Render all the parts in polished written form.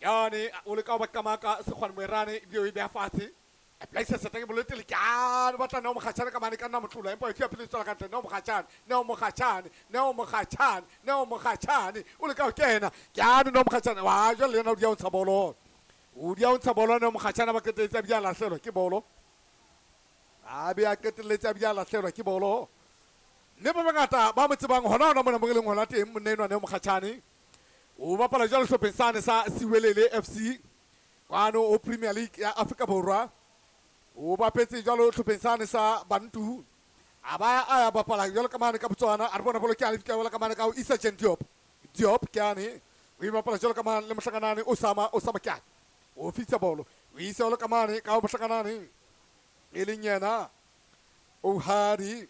Yane o leka ho ba qamaka Sekgwane Moerane ebile o e beha fatshe. A plaisa seta ke bolo e tele ke batla Neo Mokgatjhane ka mane ka nna motlola empa e fia pele tswela ka ntle. Neo Mokgatjhane, Neo Mokgatjhane, Neo Mokgatjhane, Neo Mokgatjhane o leka ho kena. Ke ane Neo Mokgatjhane wa jwale le yena o dia ho ntsha bolo. O dia ho ntsha bolo Neo Mokgatjhane ba qetelletse a bile a lahlelwa ke bolo. A be a qetelletse a bile a lahlelwa ke bolo. Mme ba bangata ba mo tsebang hona hona mona mo re leng hona teng monna enwa Neo Mokgatjhane. O bapala jwalo sehlopheng sane sa Siwelele FC kwano o Premier League ya Afrika Borwa. O bapetse jwalo hlopheng sane sa Bantu. A ba a ya bapala jwalo ka mane ka Botswana. A re bona bolo ke a fihla jwalo ka mane ka ho Issa Jen Diop. Diop ke ane o e bapala jwalo ka mane le mohlakanane Osama Osama ke ane. O fitsa bolo. O isa jwalo ka mane ka ho mohlakanane e leng yena Ohadi.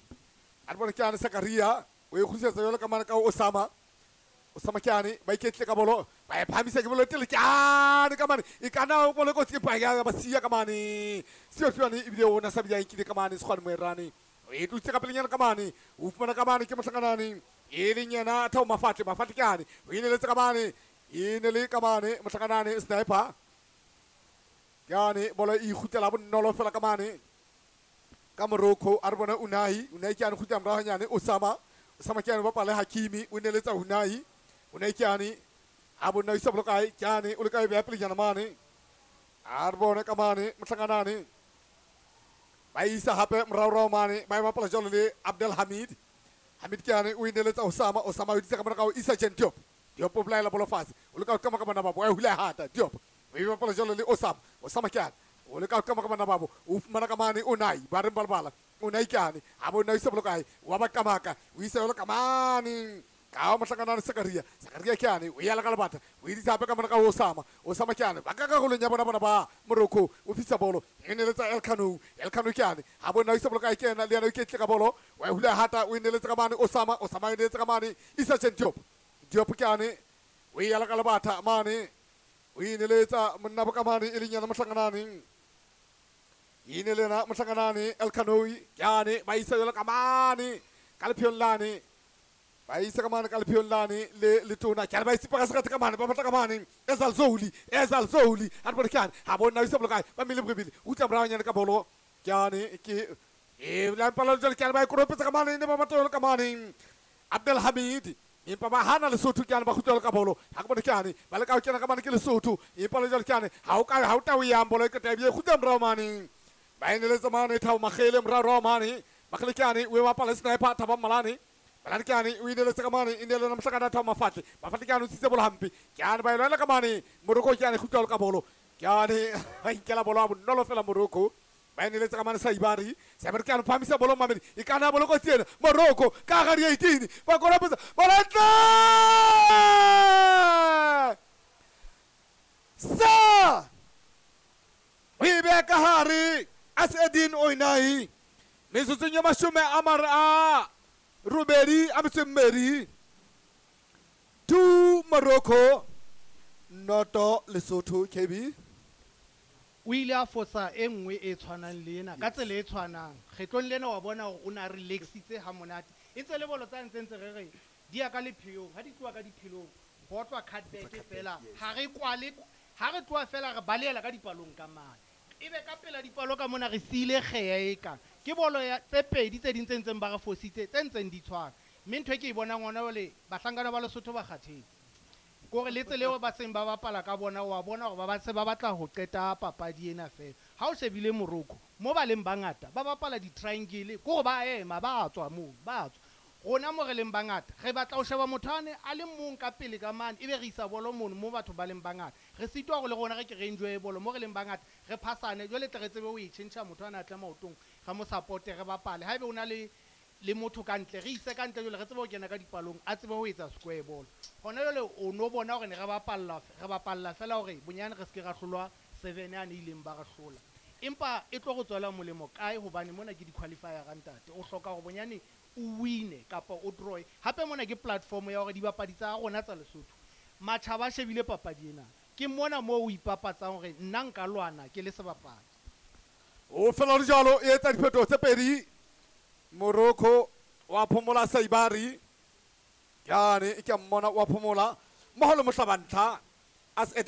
A re bona ke ane Sakaria. O e kgutlisetsa jwalo ka mane ka ho Osama. Osama ke ane ba iketle ka bolo ba e phahamisa ke bolo tele ke ane ka mane e kana bolo kotsi ke pa ba siya ka mane Seofiwane ebile o na sa bile a nkile ka mane Sekgwane Moerane o e tlositse ka pelenyana ka mane o fumana ka mane ke mohlakanane e leng yena Thabo Mafatle. Mafatle ke ane o ineletse ka mane e ne le ka mane mohlakanane Sniper ke ane bolo e ikgutlela bonolo fela ka mane ka Morocco. A re bona Unai Unai ke ane kgutlela morao hanyane Osama Osama ke ane bapala Hakimi o neletsa Unai Unai ke ane a bona isa bolo kae ke ane o le kae beha pelenyana mane a re bone ka mane mohlakanane ba isa hape moraorao mane ba e bapala jwalo le Abdel Hamid. Hamid ke ane o ineletsa Osama Osama o itse ka mona ka ho Issa Jen Diop. Diop o bolaela bolo fatshe o leka ho qama ka bana babo a hula hata Diop o e bapala jwalo le Osama Osama ke ane o leka ho qama ka bana babo o fumana ka mane Unai ba reng balabala Unai ke ane a bona isa bolo kae wa ba qamaka o isa jwalo ka mane ka mohlakanane Sakaria. Sakaria ke ane o yala ka lebata o idisa hape ka mona ka Osama Osama ke ane ba ka karolong ya bona bona ba Morocco o fisa bolo e neletsa El Kano El Kano ke ane a bona isa bolo kae ke ena le yena o iketle ka bolo wa hula hata o neletsa ka mane Osama Osama o neletsa ka mane Issa Jen Diop. Diop ke ane o yala ka lebata mane o ineletsa monna bo ka mane e leng yena mohlakanane e ne lena mohlakanane El Kano ke ane ba isa jwalo ka mane ka lepheong lane ba isa ka mane ka lepheong lane le letona ke ba isipa ka sekgathe ka mane ba batla ka mane Ezal Zoli Ezal Zoli a re bone ke ane ha bona isa bolo kae ba mele bobedi o tla morao nyane ka bolo ke ane ke e la mpala jwale ke ane ba e koropetsa ka mane ne ba batla jwalo ka mane Abdel Hamid empa ba hana Lesotho ke ane ba kgutla ka bolo ha ke bone ke ane ba leka ho kena ka mane ke Lesotho empa le jwale ke ane ha o ka ha o tao yang bolo e qeta ebile kgutla morao mane ba eneletsa mane Thabo Makgele morao mane Makgele ke ane o e bapala Sniper Thabo Malane Malane ke ane o ineletse ka mane e ne le yena mohlakana Thabo Mafatle. Mafatle ke ane o tsitse bolo hampe ke ane ba e lwela ka mane Morocco ke ane kgutla ka bolo ke ane ba inkela bolo a bonolo fela Morocco ba eneletse ka mane Saibari Saibari ke ane phamisa bolo mamedi e kana bolo kotsi ena Morocco ka gare ya 18 ba korapetsa bolo ntle sa o e beha ka hare Asedin Oinai metsotsong ya mashome a mare a robedi a metso e mmedi 2 Morocco 0 Lesotho. KB o ile a fosa e nngwe e tshwanang le ena ka tsela e tshwanang kgetlong lena wa bona hore o na relaxitse ha monate e ntse le bolo tsa ntse ntse re re di ya ka lepheong ha di tloha ka diphelong ho otlwa cutback fela ha re kwale ha re tloha fela re baleela ka dipalong ka mane ebe ka pela dipalo ka mona re siile kgeya e kang ke bolo ya tse pedi tse ding tse ntseng ba re fositse tse ntseng di tshwana mme ntho e ke e bonang hona jwale bahlankana ba Lesotho ba kgathetse kore le tsela eo ba seng ba bapala ka bona wa bona hore ba se ba batla ho qeta papadi ena fela ha o shebile Morocco mo ba leng bangata ba bapala di-triangle kore ba ema ba tswa moo ba tswa rona mo re leng bangata re batla ho sheba motho ane a le mong ka pele ka mane ebe re isa bolo mono mo batho ba leng bangata re sitwa hore le rona re ke re enjoye bolo mo re leng bangata re phasane jwale tle re tsebe ho e tjhentjha motho ana a tle maotong re mo supporte re bapale haebe o na le motho ka ntle re ise ka ntle jwale re tsebe ho kena ka dipalong a tsebe ho etsa square ball hona jwale o no bona hore ne re bapalla fela hore bonyane re se ke ra hlolwa 7 ane ileng ba re hlola empa e tlo go tswela molemo kae hobane mona ke di-qualifier ga ntate o hloka hore bonyane o wine kapa o draw hape mona ke platform ya hore dibapadi tsa rona tsa Lesotho matjhaba a shebile papadi ena ke mona moo o ipapatsang hore nna nka lwana ke le sebapadi o fela le jwalo e etsa diphetoho tse pedi Morocco wa phomola Saibari ke ane ke a mmona wa phomola mmoho le mohlabantlha as